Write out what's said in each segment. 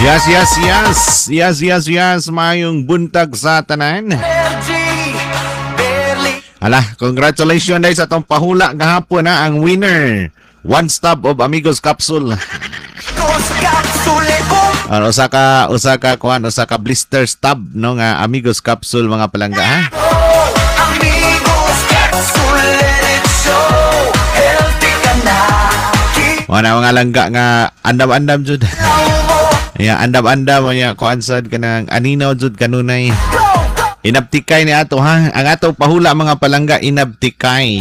Yes. Yes. Mayong buntag sa tanan. Hala, congratulations dahil sa atong pahula gahapon ha, ang winner. One stop of Amigos Capsule. Ano, usa ka kuan, usa ka blister stub, no, nga Amigos Capsule, mga palangga, ha. Amigos Capsule, let it show. Healthy ka na. Wala mga langga nga andam-andam jud. Ya, andam-andam ya kuan sad kanang aninaw jud kanunay. Inabtikay ni ato, ha. Ang ato pahula, mga palangga, inabtikay.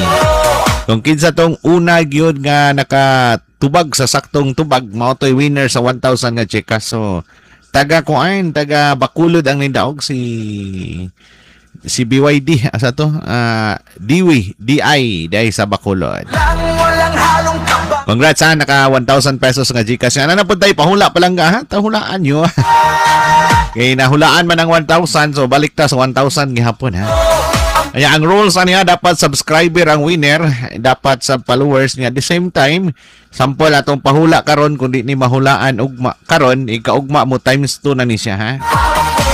Kung kinsa tong una gyud nga nakatubag sa saktong tubag, mao to'y winner sa 1,000 nga GCash. So taga kuan, taga Bacolod ang nindaog, si BYD asa to? Ah, Diwi, DI, dai sa Bacolod. Lang walang halong kaba. Congrats ha, naka 1,000 pesos nga GCash. Ano na po tayo, pahula palangga ha? Tahulaan nyo. Kay nahulaan man ang 1,000, so balik ta sa 1,000 gihapon ha. Kaya ang rules niya, dapat subscriber ang winner, dapat sa followers niya. At the same time, sample atong pahula karon, kung di ni mahulaan ugma karon, ikaugma mo times 2 na ni siya ha. Ako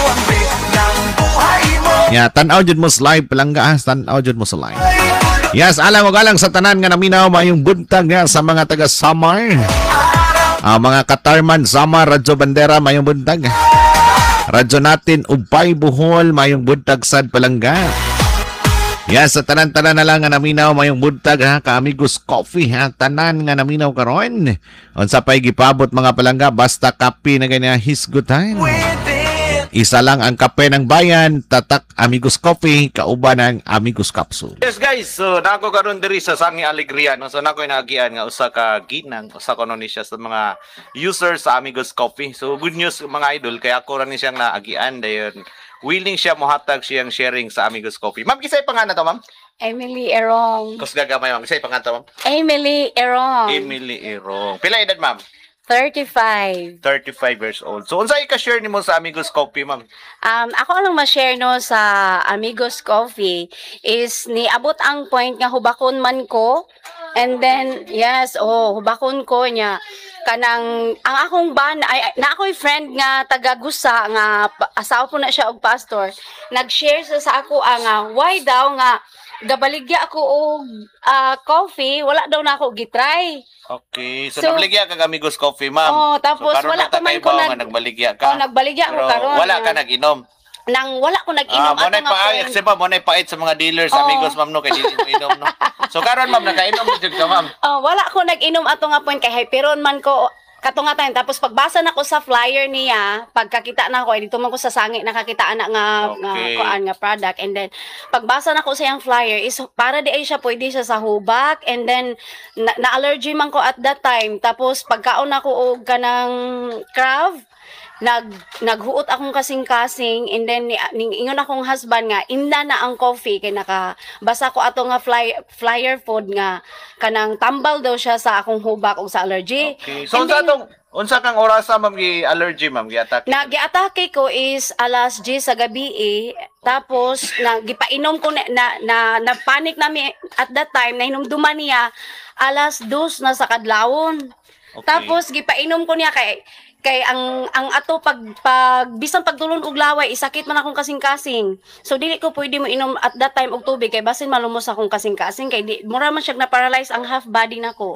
ang beat ng buhay mo. Ya, tan-aw jud mo sa live, palangga ha, tan-aw jud mo sa live. Yes, alang og alang sa tanan nga naminaw, mayong buntag nga sa mga taga Samar. Ah, mga Katarman, Samar, Radyo Bandera, mayong buntag. Radyo natin, Ubay, Bohol, mayong buntag sad, palangga. Yes, sa tanan-tanan na lang nga naminaw, mayong buntag ha, ka-Amigos Coffee ha, tanan nga naminaw karon. Unsa pay gipabot, mga palangga, basta kape na ganyan hisgutan. With it. Isa lang ang kape ng bayan, tatak Amigos Coffee, kauban ng Amigos Capsule. Yes guys, so nako karon diri sa Sangi Alegria, no. So nako inaagian nga usa ka ginang, usa kuno ni siya sa mga users sa Amigos Coffee. So good news, mga idol, kay ako ra ni siyang naagian, dayon willing siya mohatag siyang sharing sa Amigos Coffee. Ma'am, kisay pangalan to, ma'am? Emily Erong. Kusga gamay, ma'am, kisay pangalan to, ma'am? Emily Erong. Emily Erong. Pila edad, ma'am? 35. 35 years old. So unsay ka-share nimo sa Amigos Coffee, ma'am? Ako lang ma-share, no, sa Amigos Coffee is niabot ang point nga hubakon man ko. And then yes, oh, hubakon ko niya kanang ang akong ban ay na ako'y friend nga taga Gusa nga asawa po na siya og pastor. Nag-share siya sa ako ang why daw nga gabaligya ako og coffee, wala daw na ako gitry. Okay. So, So, nagbaligya ka Amigos Coffee, ma'am. Oh, tapos So, karon wala na ta pa man kay ko nga nagbaligya ka. Oh, nagbaligya ako Pero karon. wala ka nag-inom. Nang wala ko nag-inom Ah, mo ato na nga paay, point. kasi pa mo na pait sa mga dealers, Oo. Amigos, ma'am, no, kay dili mo inom, no. So karon, ma'am, nakainom na jud ka, ma'am. Oh, wala ko nag-inom ato nga point kay hyperon man ko kato nga time. Tapos pagbasa nako sa flyer niya, pagkakita na ako ay dito man ko sa sangi nakakita ana nga kuan nga product, and then pagbasa nako sa iyang flyer is para di ay siya pwede siya sa hubak, and then na allergy man ko at that time. Tapos pagkaon nako og kanang crab, naghuot akong kasing-kasing, and then ni ingon akong husband nga imna na ang coffee kay nakabasa ko ato nga flyer food nga kanang tambal daw siya sa akong hubak ug sa allergy. Okay. So And unsa then, tong unsa kang orasa, ma'am, gi allergy, ma'am, gi-attack? Nag-atake ko is alas 10 sa gabi eh. Tapos na gipainom ko na panic nami at that time, nahinumduman niya alas 2 na sa kadlawon. Tapos gipainom ko niya kay ang ato pag bisan pagtulon og laway, isakit man akong kasing-kasing. So dili ko pwede mo inom at that time og tubig kay basin malumos akong kasing-kasing kay di mura man siya na paralyze ang half body nako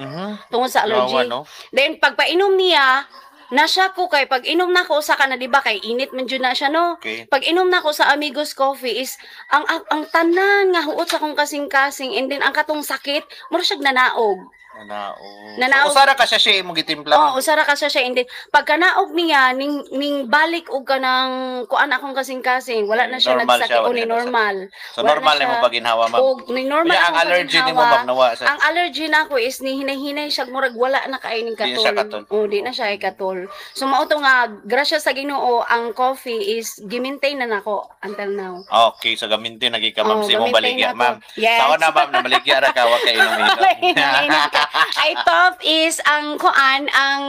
tungod sa allergy. Yawa, no? Then pagpainom niya, na siya ko kay pag inom na ko sa kana, di ba, kay init man jud na siya, no. Pag inom na ko sa Amigos Coffee is ang tanan nga huot sa akong kasing-kasing and then ang katong sakit mura siya nanaog. Nanaog. Nanaog. So, usara ka siya imong gitimpla, Oh, ma'am? usara ka siya and then pagkanaog niya ning balik og kanang kuan akong kasing-kasing, wala na siya Normal nagsakit siya, o wala ni na siya. normal. So Wala normal na na mo siya. paginhawa, ma'am. Og ni normal Kaya ang akong allergy nimo, paginhawa. ma'am, nawa sa Ang allergy nako is ni hinay-hinay siya, murag wala na kay ning Di na katol. siya katol. Oh, di na siya ay katol. So mao to nga grasya sa Ginoo, ang coffee is gimaintain na nako until now. Okay, so gamintin lagi ka, ma'am, Oh, sa imong gamintin baligya, na ko. ma'am. Yes. Sao na, ma'am, nabaligya ra ka wa kay inom. I thought is ang kuan ang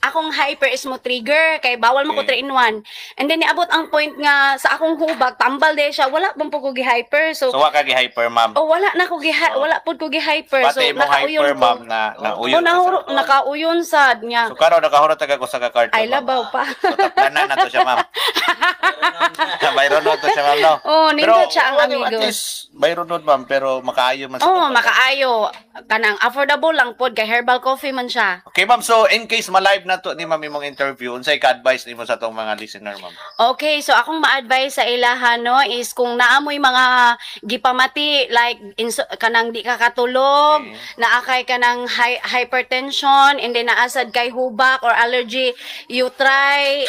ako akong hyper is mo trigger kay bawal mo ko 3 in 1. And then niabot ang point nga sa akong hubag tambal de siya, wala man po ko gi-hyper. So, So wa ka gi-hyper, ma'am. Oh, wala na ko gi, wala pud ko gi-hyper. So Pati mo nakauyon hyper, ko. ma'am, na nauyon Oh, ka sa- nakauyon sad niya. So karon nakahurot ka ko sa ka-carton. Ay, ma'am. labaw pa. So taplanan na to siya, ma'am. Bayron to siya, ma'am, no? Oh, nindot siya ang well, Amigos. at least, bayron ma'am, pero makaayo man sa Oh, totoo. makaayo kanang affordable lang pod kay herbal coffee man siya. Okay, ma'am. So, in case ma-live na to ni ma'am imong interview, unsay ka-advice nimo sa atong mga listener, ma'am? Okay, so akong ma-advise sa ilaha, no, is kung naamoy mga gipamati like kanang di ka katulog, naa kay kanang hypertension, and then naasad kay hubak or allergy, you try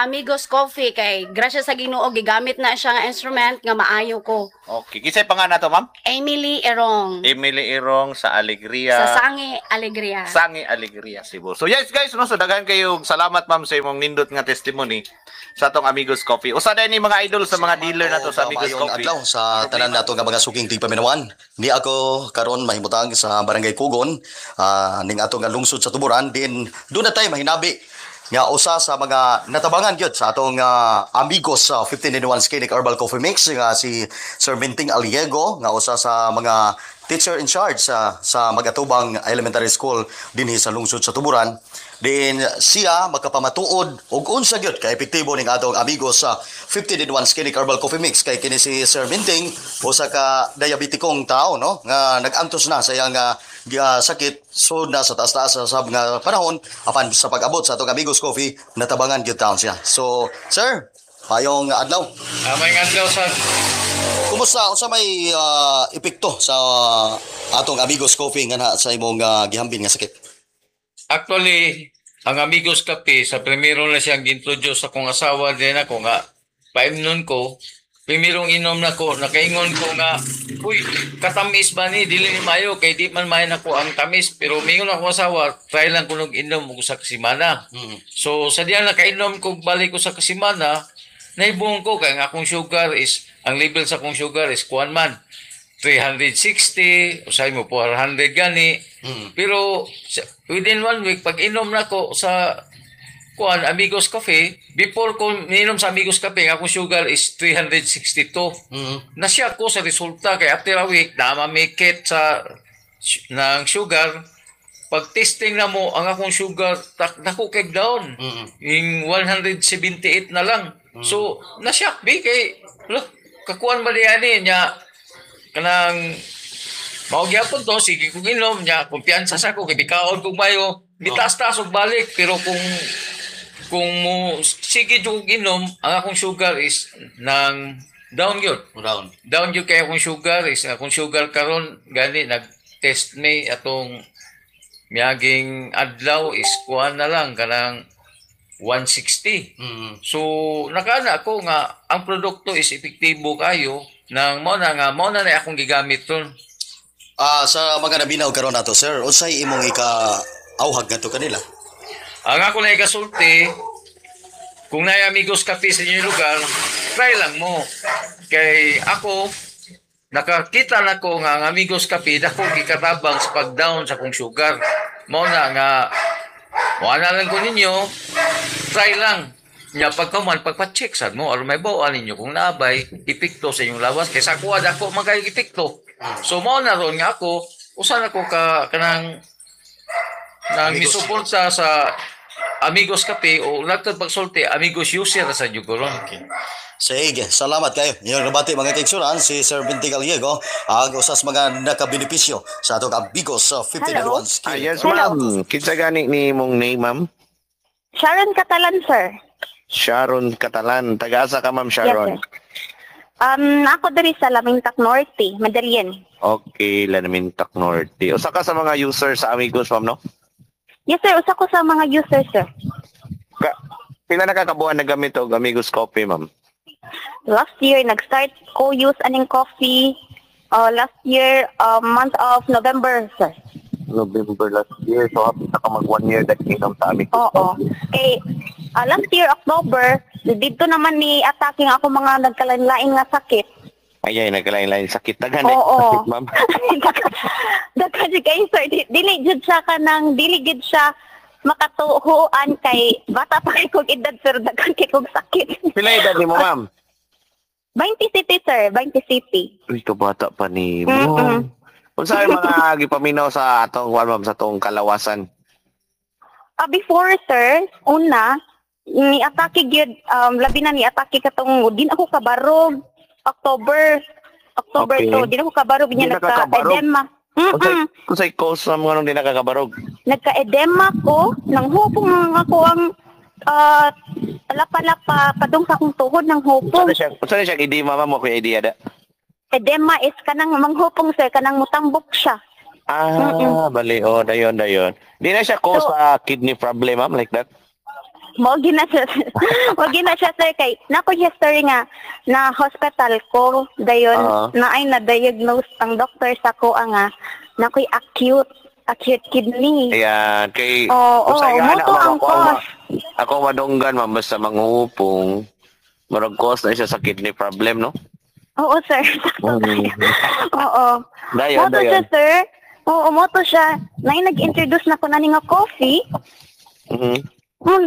Amigos Coffee kay grasya sa Ginoo gigamit na siya nga instrument nga maayo ko. Okay. Kinsay pa nga na to, ma'am? Emily Erong Emily Irong sa Alegria. sa Sangi Alegria. Sangi Alegria, Cebu. So yes guys, no, so daghan kayong salamat, ma'am, sa imong nindot nga testimony sa atong Amigos Coffee. Usa din ni mga idol sa mga dealer na to sa Amigos Maayong Coffee. Adlaw sa tanan nato nga mga suking tigpaminawan. Ni ako karon mahimutang sa Barangay Kugon, ning ato nga lungsod sa Tuburan din doon na tay mahinabi nga usa sa mga natabangan gyud sa atong Amigos sa 15 in 1 Skinnic Herbal Coffee Mix nga si Sir Minting Aliego nga usa sa mga teacher in charge sa Magatubang Elementary School dinhi sa lungsod sa Tuburan. Din siya makapamatuod og unsa gyud ka epektibo ning atong Amigos sa 15 in 1 Skinnic Herbal Coffee Mix kay kini si Sir Minting usa ka diabetikong tao, no, nga nag-antos na sa iyang sakit, so na sa taas-taas sa sab nga panahon, apan sa pag-abot sa atong Amigos Coffee natabangan gyud taon siya. So sir, maayong adlaw. Maayong adlaw sa Kumusta, unsa may epekto sa atong Amigos Coffee nga na sa imong gihambin nga sakit? Actually, ang Amigos Kape, sa primero na siyang gintroduce sa akong asawa din ako nga paimnon ko, primerong inom na ko, nakaingon ko nga, "Uy, katamis ba ni? Dili ni mayo, kay di man mayo nako ang tamis." Pero mingon ako asawa, try lang ko nung inom og sa kasimana. So, sa diyan nakainom ko, balik ko sa kasimana, naibong ko, kay ang akong sugar is, ang level sa akong sugar is kuan man, 360, usay mo 400 gani. Pero within one week, pag inom na ko sa kuan Amigos Cafe, before ko ninom sa Amigos Cafe, ang akong sugar is 362. Nasya ko sa resulta kay after a week, na mamikit sa ng sugar. Pag testing na mo, ang akong sugar, dako kay down. Yung 178 na lang. So, nasyak bi kay, look, kakuan ba diyan niya, kanang mao gyapon to, sige kong inom niya, kumpiyansa sa ko kay bikaon kog mayo, mitaas-taas og balik, pero kung mo sige jud kog inom, ang akong sugar is nang down gyud. Down. Down gyud kay akong sugar is akong sugar karon gani nag-test me atong miaging adlaw is kuan na lang kanang 160. So nakana ako nga ang produkto is epektibo kayo nang mao na akong gigamit ron. Sa mga nabinaw karon nato, sir, unsay imong ika auhag ngadto kanila? Ang ako na ikasulti, kung naay Amigos Cafe sa inyong lugar, try lang mo. Kay ako, nakakita na ko nga ang Amigos Cafe, dako gikatabang sa pag-down sa kong sugar. Mao na nga, wala lang ko ninyo, try lang. Nya pagkaman, pagpa-check sad mo, aron may bawaan ninyo kung naabay, epekto sa inyong lawas. Kaysa ako, dako man kayo epekto. So mao na ron nga ako, usan ako ka kanang nang Amigos. misuporta sa Amigos Cafe o lagtad pagsulti Amigos user sa jugoron. Okay. Sige, salamat kayo. Inyong nabati, mga kaigsunan, si Sir Binti Gallego, ang usas mga nakabenepisyo sa atong Amigos sa 15 Hello? 1 skill. Ah, yes, ma'am. Kinsa gani ni imong name, ma'am? Sharon Catalan, sir. Sharon Catalan. Taga-asa ka, ma'am Sharon? Yes, sir. Ako diri sa Lamintak Norte, Madalien. Okay, Lanamintak Norte. Usa ka sa mga user sa Amigos, ma'am, no? Yes, sir. Usa ko sa mga users, sir. Pila na kakabuan na gamit og Amigos Coffee, ma'am? Last year, nag-start ko use aning coffee last year, month of November, sir. November last year. So, hapit na ka mag one year that inom sa Amigos Oo. Coffee. Kay last year, October, dito naman ni attacking ako mga nagkalain-lain nga sakit. Ay, ay, nagkalain-lain sakit. Daghan na Oo. sakit, ma'am. Daghan jud kayo, sir. Dili jud siya kanang dili gid siya Makatuhuan kay bata pa kay kog edad pero daghan kay kog sakit. Pila edad nimo, ma'am? 20 City, sir, 20 City. Uy, kabata pa nimo. Unsa ay mga gipaminaw sa atong kuan, ma'am, sa atong kalawasan? Ah, before, sir, una ni atake gyud, labi na ni atake katong din ako kabarog October October to din ako kabarog Di niya na ka kabarog? nagka-edema. Unsay unsay cause ma'am nganong di nakakabarog? Nagka-edema ko, nang hupong ako ang lapa-lapa padung sa akong tuhod ng hupong. Unsa na siya edema, ma'am, mo kuya idea da? Edema is kanang manghupong, sir, kanang mutambok siya. Ah, bali oh, dayon dayon. Di na siya cause So, sa kidney problem, ma'am, like that. Mo gina siya. Mo gina siya, sir, kay nako history nga na hospital ko dayon na ay na-diagnose ang doctor sa ko ang nga nakoy acute acute kidney. Ayan, kay Oo, usay oh, nga mo na, to ma'am, ang cause. Ako madunggan, ma'am, basta manghupong murag cause na siya sa kidney problem, no? Oo, sir. Sakto tayo. Oo. Dayon, Mo to siya, dayon. sir. Oo, mo to siya. Na nag-introduce na ko na ni nga coffee.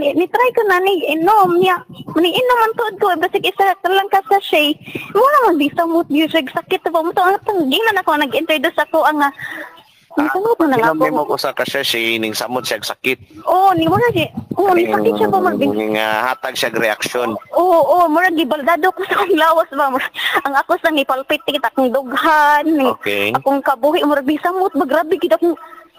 Ni try ko na ni inom niya. Ni inom ang tuod ko basig isa ka lang ka sachet. Mo naman di sa mood music sakit ba mo to ang ginan ako nag-introduce ako ang ni samot na lang Inom ako. nimo ko sa kasya ning samot siya og sakit. Oo, ni wala si. Oo, ni sakit siya ba mag Ning hatag siya og reaksyon. Oo, oo, murag gibaldado ko sa akong lawas ba. Murag, ang ako sa nipalpitit akong dughan, ni, akong kabuhi murag di samot ba grabe gid akong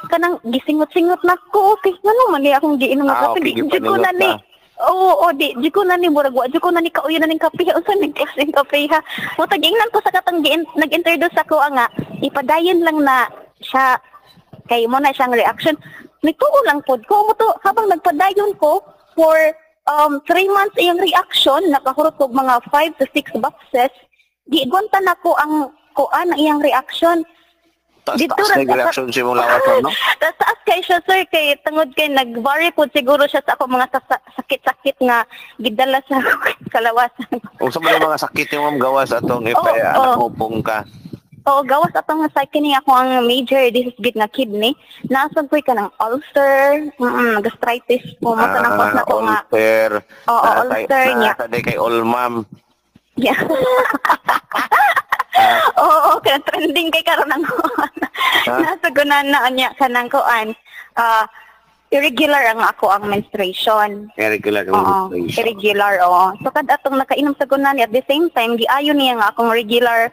kanang gisingot-singot na ko. Okay, ngano man ni akong giinom nga Ah, kape, okay, di jud ko na gipaningot ni. ka. Oo, oo, di ko na ni murag wa jud ko na ni kauyo na ning kape unsa ning klaseng kape ha. Mo tagingnan ko sa katong nag-introduce ako ang nga ipadayon lang na siya kay mo na siyang reaction. Nagtuo lang pod ko mo to habang nagpadayon ko for 3 months iyang reaction, nakahurot kog mga 5 to 6 boxes. Gigunta na ko ang kuan ang iyang reaction. Taas Dito taas ra na reaction sa imong lawas, ma'am, no? Taas taas kay siya, sir, kay tungod kay nag-vary po siguro siya sa ako mga sakit-sakit nga gidala sa kalawasan. Unsa man ang mga sakit nimo, ma'am, gawas atong if Oo, anak oo. hupong ka? Oo, gawas atong sa kini ako ang major disease gid nga kidney. Naasad ko'y kanang ulcer, gastritis po mo tanang cause na ko nga. Ulcer. Oo, ulcer niya. Nasa day kay all ma'am. Yeah. Oo, kaya trending kay karon ang nasa gunan na niya kanang kuan. Ah, irregular ang ako ang menstruation. Irregular ang Oo, menstruation. irregular, oo. So kad atong nakainom sa gunan at the same time giayon niya nga akong regular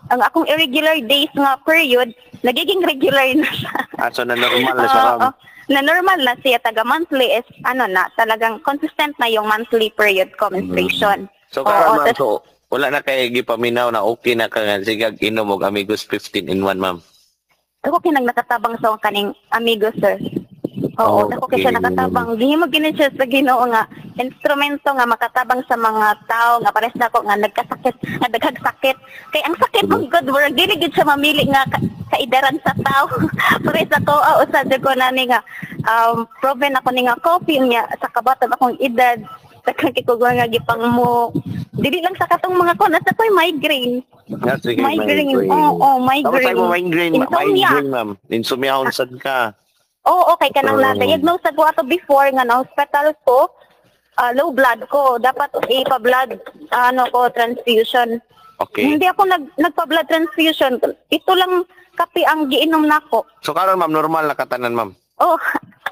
ang akong irregular days nga period nagiging regular na siya. Ah, so na normal na siya, Oo, ma'am. na normal na siya taga monthly is ano na talagang consistent na yung monthly period ko menstruation. So Oo, karon, ma'am, tas- so wala na kay gipaminaw na okay na ka nga sigag inom og Amigos 15 in 1, ma'am. Ako kay nang nakatabang sa akong kaning amigo, sir. Oo, dako kay siya nakatabang. Gihimo gini siya sa Ginoo nga instrumento nga makatabang sa mga tao nga pares nako nga nagkasakit, nga daghang sakit. Kay ang sakit mong good work dili gid siya mamili nga kaidaran sa tao. Pares ako usa jud ko nani nga proven ako ni nga coffee niya sa kabaton akong edad. Daghang kay ko nga gipang mo dili lang sa katong mga ko nasa ko'y migraine. Nga, sige, Migraine. Oo, migraine. Tapos tayo mo migraine, Insomnia. migraine, ma'am. Insomnia unsad ka. Oo, okay ka nang Oo. na-diagnose ako ato before nga na hospital ko, low blood ko. Dapat ipa-blood ano ko transfusion. Hindi ako nagpa-blood transfusion. Ito lang kape ang giinom nako. So karon, ma'am, normal na katanan, ma'am. Oh,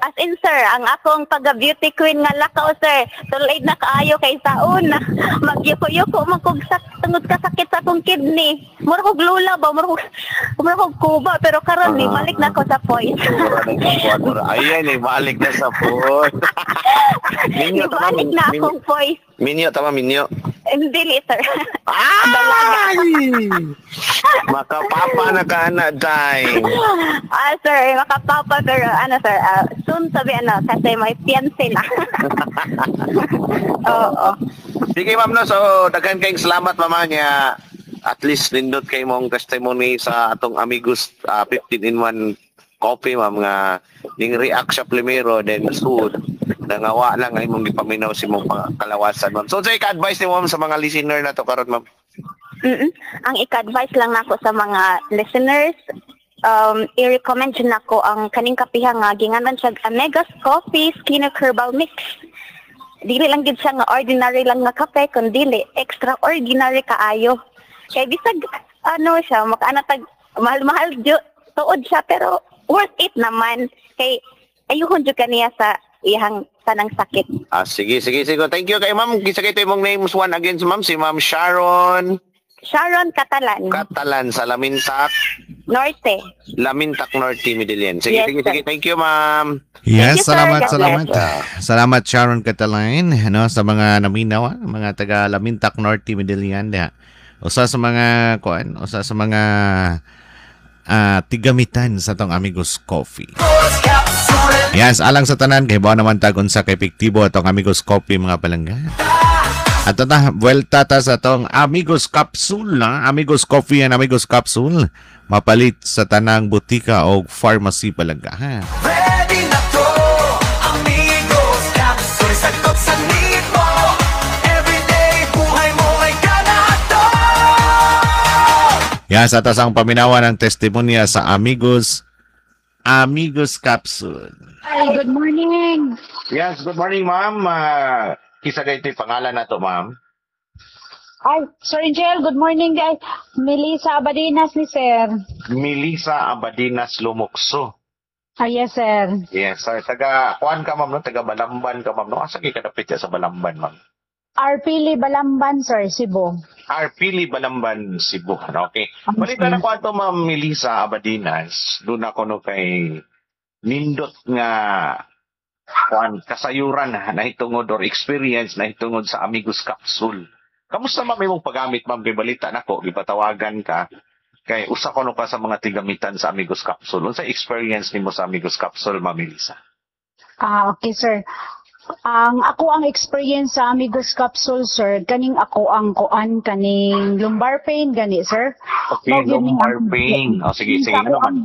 as in, sir, ang akong pagka-beauty queen nga lakaw, sir, tulad na kaayo kay sa una. Magyuko-yuko man kog tungod ka sakit sa akong kidney. Mura kog lula ba, mura kog kuba, pero karon ni balik na ko sa point. Mura na yung mura. Ayan, eh, balik na sa phone. Minyo, tama, Balik na akong voice. Minyo, tama, minyo. Hindi, sir. Ay! Makapapa na ka na, day. Ah, sir, makapapa, pero ano, sir, soon sabi ano, kasi may fiancé na. Oo. Sige, ma'am, no. So, daghan kayong salamat, mama niya. At least nindot kay mong testimony sa atong Amigos 15 in 1 coffee, ma'am, nga ning react siya primero, then soon, nangawa lang ay mong gipaminaw si mong kalawasan, ma'am. So, sa ka-advice ni ma'am sa mga listener na to karon, ma'am? Ang ika-advise lang nako sa mga listeners, i-recommend jud nako ang kaning kapiha nga ginganan siya Amegas Coffee Skin Herbal Mix. Dili lang gid siya nga ordinary lang nga kape, kun dili extraordinary kaayo. Kay bisag ano siya, makaana tag mahal-mahal jud tuod siya, pero worth it naman kay ayuhon jud kaniya sa iyang tanang sakit. Ah, sige, sige, sige. Thank you kay ma'am. Kinsa kay imong names one again, ma'am? Si Ma'am Sharon Sharon Catalan. Catalan sa Lamintak, Norte. Lamintak Norte, Medellin. Sige, Yes, sige, sir. sige. Thank you, ma'am. Yes, Thank you, sir. salamat, God salamat. bless. Salamat, Sharon Catalan, no, sa mga naminaw, mga taga Lamintak Norte, Medellin diha. Usa sa mga kuan, usa sa mga tigamitan sa tong Amigos Coffee. Yes, alang sa tanan kay bawa naman tag unsa ka epektibo atong Amigos Coffee, mga palangga. At ta, buwelta ta sa tong Amigos Capsule, ha? Amigos Coffee and Amigos Capsule. Mapalit sa tanang butika o pharmacy, palangga, ha? Ready na to, Amigos Capsule. Sagot sa need mo. Everyday, buhay mo ay ganado. Yan, sa tas ang paminawan ng testimonya sa Amigos Capsule. Hi, good morning. Yes, good morning, ma'am. Kinsa kay ito'y pangalan na to, ma'am? Ay, Sir Angel, good morning, guys. Melissa Abadinas ni sir. Melissa Abadinas Lumukso. Ah, yes, sir. Yes, sir. Taga, kuan ka, ma'am, no? Taga Balamban ka, ma'am, no? Asa kay kadapit sa Balamban, ma'am? Arpili Balamban, sir, Cebu. Arpili Balamban, Cebu. Okay. Balita na ko ato, Ma'am Melissa Abadinas. Doon ako no kay nindot nga kuan kasayuran nahitungod or experience nahitungod sa Amigos Capsule. Kamusta, ma'am, imong paggamit, ma'am, kay balita nako gipatawagan ka kay usa ko no ka sa mga tigamitan sa Amigos Capsule. Unsa experience nimo sa Amigos Capsule, Ma'am Melissa? Ah, okay, sir. Ang ako ang experience sa Amigos Capsule, sir, kaning ako ang kuan kaning lumbar pain gani, sir. Okay, Mao gyud ni lumbar pain. O sige, sige, Ako ano man.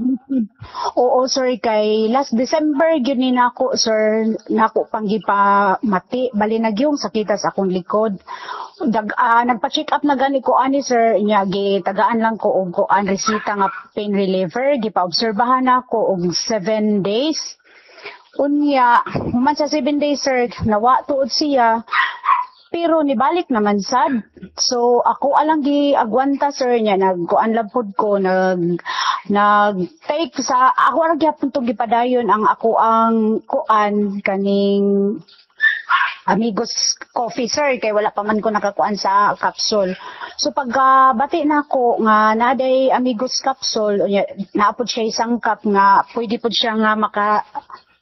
Oo, sir, kay last December gyud ni nako, sir, nako pang gipamati bali nagyong sakita sa akong likod. Nagpa-check up na gani ko ani, sir, nya gitagaan lang ko og kuan resita nga pain reliever, gipa-obserbahan nako og 7 days. Unya, human sa 7 days, sir, nawa tuod siya. Pero nibalik naman sad. So ako alang gi agwanta, sir, niya nagkuan lang pud ko, nag nag take sa ako ra gyapon tong gipadayon ang ako ang kuan kaning Amigos Coffee, sir, kay wala pa man ko nakakuan sa capsule. So pagka bati na ako nga naday Amigos Capsule, unya naapod siya isang cup nga pwede pod siya nga maka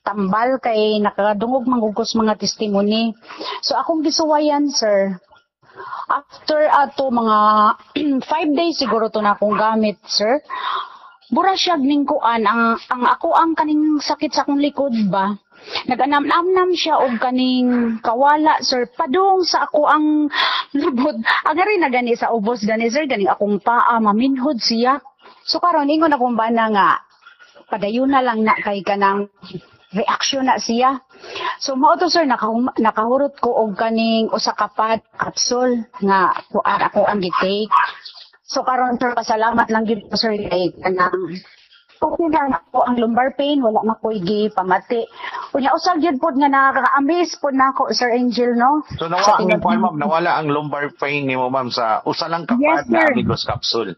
tambal kay nakadungog manggugos mga testimony. So akong gisuwayan, sir. After ato mga 5 days siguro to na akong gamit, sir. Bura siya ning kuan ang ako ang kaning sakit sa akong likod ba. Naganam-namnam siya og kaning kawala, sir, padung sa ako ang lubot. Ang ari na gani sa ubos gani, sir, ganing akong paa maminhod siya. So karon ingon akong bana nga padayon na lang na kay kanang reaksyon na siya. So mao to, sir, nakahurot ko og kaning usa ka pad capsule nga kuan ako ang gi-take. So karon, sir, pasalamat lang gyud ko, sir, kay kanang okay na ako ang lumbar pain, wala na ko'y gipamati. Unya usag gyud pod nga nakaka-amaze pod nako, Sir Angel, no? So nawala Sa ang tinag- ma'am, nawala ang lumbar pain nimo, ma'am, sa usa lang ka Yes, pad na sir. Amigos Capsule.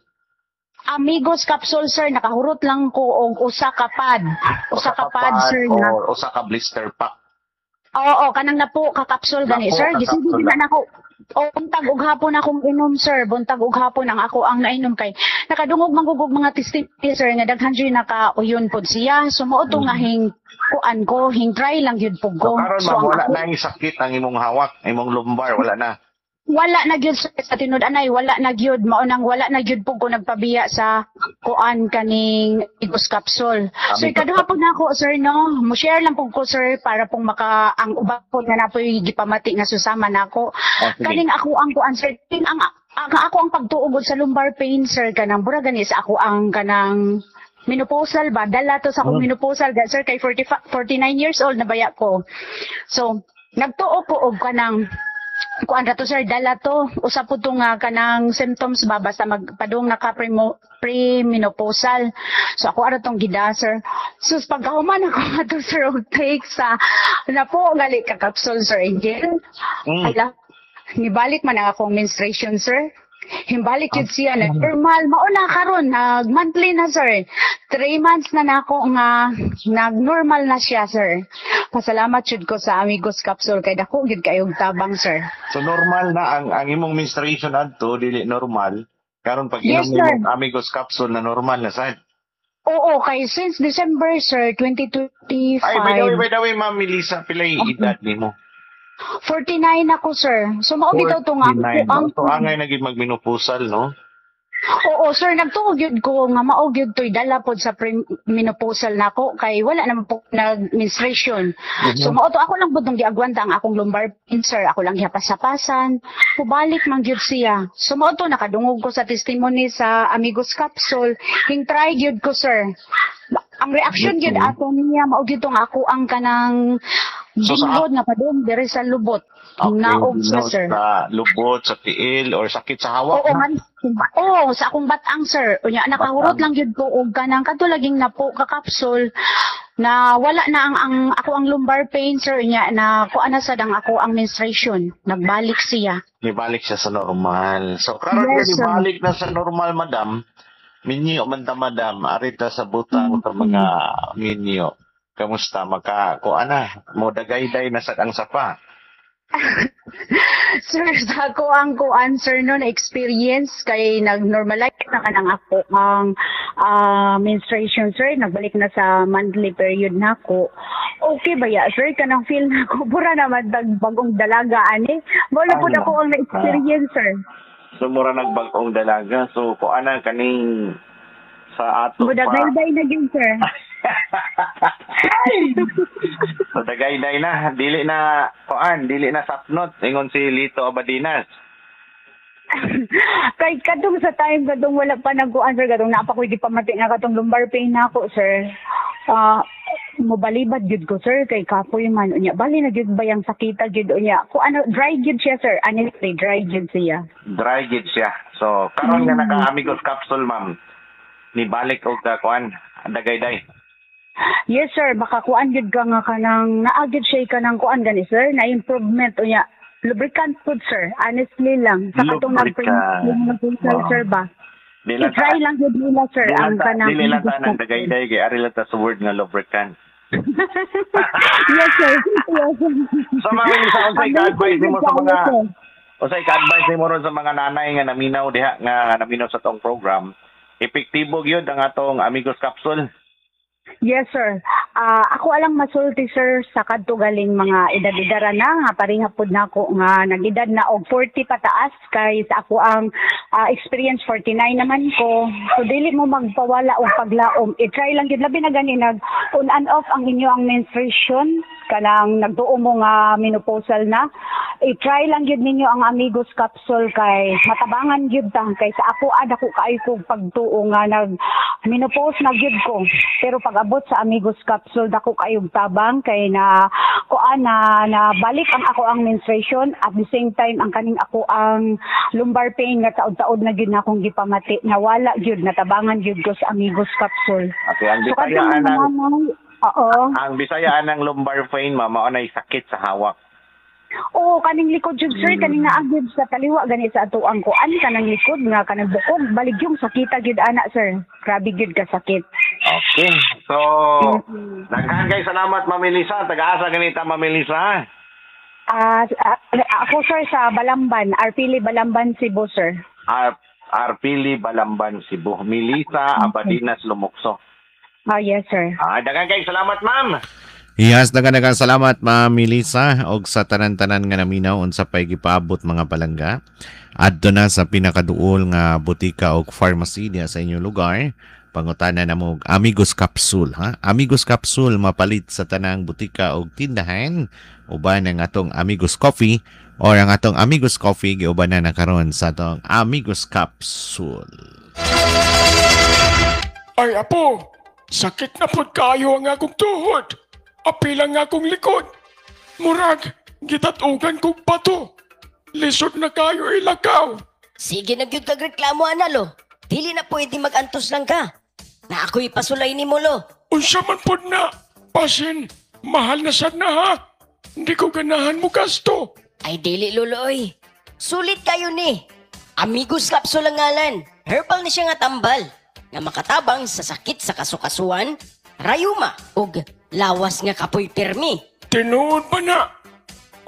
Amigos Capsule, sir, nakahurot lang ko og usa ka pad. Usa ka pad, sir, na. Or usa ka blister pack. Oo, kanang napo ka capsule gani, Napo sir. ka Gisigi capsule na nako. O buntag ug hapon akong inom, sir. Buntag ug hapon ang ako ang nainom kay nakadungog manggugog mga testimony, sir, nga daghan jud naka-uyon pod siya. So mao to nga hing kuan ko, hing try lang gyud pud So ko. karon So, ma'am, ang wala ako- na yung sakit ang imong hawak, imong lumbar, wala na. Wala na gyud, sir, sa tinud anay wala na gyud. Mao nang wala na gyud pud ko nagpabiya sa kuan kaning Amigos Capsule. So Amigos. ikaduha pud nako, sir, no. Mo share lang pud ko, sir, para pong maka ang uban po nga napoy gipamati nga susama nako. Oh, sige. Kaning ako ang kuan, sir, king ang ako ang pagtuugod sa lumbar pain, sir, kanang bura gani sa ako ang kanang menopausal ba, dala to sa akong menopausal ga, sir, kay 40, 49 years old na baya ko. So nagtuo ko og kanang Kuan ra to, sir, dala to. Usa po to nga kanang symptoms ba basta magpadung naka premenopausal. So ako ara tong gida, sir. Sus, pagkahuman ako ato, sir, og take sa napo gali ka capsule, Sir Angel. Ala, nibalik man ang akong menstruation, sir. Himbalik yun siya na normal. Mauna karon nag monthly na, sir. 3 months na nako nga nag-normal na siya, sir. Pasalamat jud ko sa Amigos Capsule kay dako gyud kayong tabang, sir. So normal na ang imong menstruation adto dili normal. Karon pag Yes, inom sir. nimo Amigos capsule na normal na sad. Oo, kay since December, sir, 2025. Ay, by the way, Ma'am Melissa, pilay edad nimo? 49 ako, sir. So mao bitaw to nga 49. ang So angay na gid magmenopausal, no? Oo, sir, nagtuo gyud ko nga mao gyud to'y dala pod sa premenopausal nako kay wala naman po nag-menstruation. So mao to ako lang pud tong giagwanta ang akong lumbar pain, sir. Ako lang gihapas-hapasan. Pubalik man gyud siya. So mao to nakadungog ko sa testimony sa Amigos Capsule. Hing try gyud ko, sir. Ang reaction gyud ato niya mao gyud tong ako ang kanang So, binghod nga padung diri sa lubot. Naog siya, no, sir. Sa lubot, sa tiil, or sakit sa hawak. Oo, man. Oo, sa akong batang, sir. Unya, nakahurot lang gyud ko og kanang kadto laging napo ka capsule na wala na ang ako ang lumbar pain, sir, nya na kuan na sad ang ako ang menstruation. Nagbalik siya. Nibalik siya sa normal. So, karon Yes, yes, sir. nibalik na sa normal, madam. Minyo man ta, madam. Arita sa butang sa mga minyo. Kamusta maka ko ana mo dagayday na sa ang sapa? Sir, sa ako ang kuan, sir, no na experience kay nag-normalize na kanang ako ang menstruation, sir, nagbalik na sa monthly period na ako. Okay ba ya, sir, kanang feel na ako pura naman tag bagong dalaga ani. Mo na pud Ay, ako ang na-experience, sir. So mura nagbag-ong dalaga. So ko ana kaning sa ato pa. Mudagayday na gyud, sir. So dagayday na, dili na kuan, dili na sapnot ingon si Lito Abadinas. Kay kadtong sa time kadtong wala pa nagkuan, sir, kadtong naa pa ko'y gipamati nga katong lumbar pain na ako, sir. Ah, mobalibad gyud ko, sir, kay kapoy man unya. Bali na gyud ba yang sakita gyud unya. Ko ano, dry gyud siya, sir. Honestly, dry gyud siya. Dry gid siya. So karon nga naka Amigos capsule, ma'am. Nibalik og ka kuan, dagayday. Yes, sir, baka kuan gyud ka nga kanang naa gyud siya kanang kuan gani, sir, na improvement unya. Lubricant food, sir. Honestly lang. Sa katong Lubricant. nag sir ba? Di lang I-try lang gyud nila, sir, di ang lang ta, kanang dili lang ta nang dagayday kay ari lang ta sa word nga lubricant. Yes, sir. Yes, sir. So ma'am Elisa, unsay ka-advise nimo sa mga Sir. unsay ka-advise nimo ron sa mga nanay nga naminaw diha nga naminaw sa tong program? Epektibo gyud ang atong Amigos capsule. Yes, sir. Ah, ako alang masulti, sir, sa kadto galing mga edad-edara na nga pareha pud nako nga nag-edad na og 40 pataas kay sa ako ang experience 49 naman ko. So dili mo magpawala og paglaom. I-try lang gyud, labi na gani nag on and off ang inyo ang menstruation kanang nagtuo mo nga menopausal na. I-try lang gyud ninyo ang Amigos capsule kay matabangan gyud ta kay sa ako ada ko kaayo kog pagtuo nga nag menopause na gyud ko. Pero pag abot sa Amigos capsule, dako kayong tabang kay na kuan na, na balik ang ako ang menstruation, at the same time ang kaning ako ang lumbar pain nga taod-taod na gyud na akong gipamati, nawala gyud, natabangan gyud ko sa Amigos capsule. Okay, ang So Bisaya kadtong mga anang nanay, oo. Ang Bisaya anang lumbar pain, ma'am, mao nay sakit sa hawak. Oo, kaning likod jud, sir, kaning naa gyud sa kaliwa gani sa atuang kuan kanang likod nga kanang bukog balig yung sakita gyud ana, sir. Grabe gyud ka sakit. Okay. So, daghan kay salamat, Ma'am Elisa. Taga-asa ganita, Ma'am Elisa? Ah, ako, sir, sa Balamban, Arpili Balamban, Cebu, sir. Arpili Balamban, Cebu. Melissa Abadinas Lumukso. Ah, yes, sir. Ah, daghan kay salamat, ma'am. Yes, daghan salamat, Ma'am Melissa, og sa tanan-tanan nga naminaw unsa pay gipaabot, mga palangga. Adto na sa pinakaduol nga botika og pharmacy diha sa inyong lugar. Pangutana na mo og Amigos Capsule, ha? Amigos Capsule mapalit sa tanang botika og tindahan uban ang atong Amigos Coffee or ang atong Amigos Coffee giuban na karon sa atong Amigos Capsule. Ay, apo, sakit na pod kayo ang akong tuhod. Apil ang akong likod. Murag, gitatugan kog bato. Lisod na kayo ilakaw. Sige na gyud kag reklamo ana, lo. Dili na pwede magantos lang ka. Na ako'y pasulay nimo, lo. Unsa man pod na? Pasin, mahal na sad na ha. Hindi ko ganahan mo gasto. Ay dili, lolo oy. Sulit kayo ni. Amigos Capsule ang ngalan. Herbal ni siya nga tambal nga makatabang sa sakit sa kasukasuan, rayuma ug lawas nga kapoy pirmi. Tinuod ba na?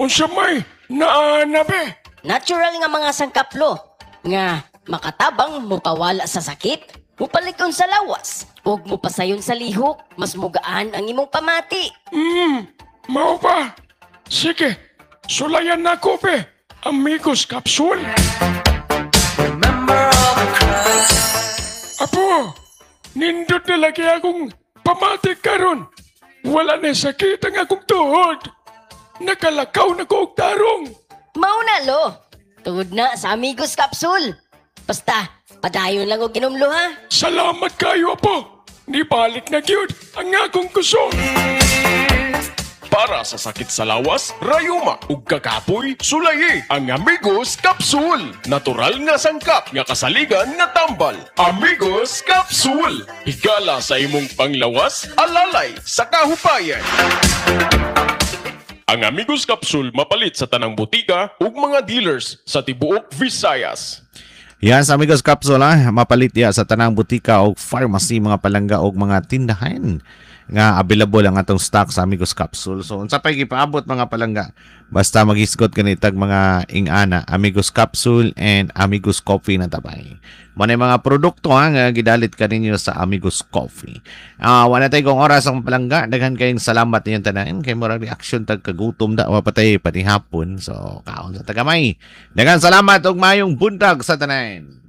Unsa may naa na be? Natural nga mga sangkaplo nga makatabang mupawala sa sakit, mupalikon sa lawas, ug mupasayon sa lihok, mas mugaan ang imong pamati. Mao ba? Sige, sulayan na ko be. Amigos Capsule. Apo, nindot na lagi akong pamati karon. Wala na sakit ang akong tuhod. Nakalakaw na ko og tarong. Mao na, lo. Tungod na sa Amigos Capsule. Basta, padayon lang og inom, lo, ha. Salamat kayo, apo. Nibalik na gyud ang akong kusog. Para sa sakit sa lawas, rayuma ug kakapoy, sulayi ang Amigos Capsule. Natural nga sangkap nga kasaligan nga tambal. Amigos Capsule. Higala sa imong panglawas, alalay sa kahupayan. Ang Amigos Capsule mapalit sa tanang botika ug mga dealers sa tibuok Visayas. Yan sa Amigos Capsule ha, mapalit ya sa tanang butika o pharmacy, mga palangga, og mga tindahan nga available ang atong stock sa Amigos Capsule. So unsa pay gipaabot, mga palangga? Basta maghisgot kanitag mga ingana, Amigos Capsule and Amigos Coffee na tabay. Mo na mga produkto ha, nga gidalit kaninyo sa Amigos Coffee. Ah, wala tayo kong oras ang palangga. Daghan kayong salamat ninyong tanan kay murag reaction tag kagutom da wa patay pati hapon. So kaon sa tagamay. Daghan salamat ug maayong buntag sa tanan.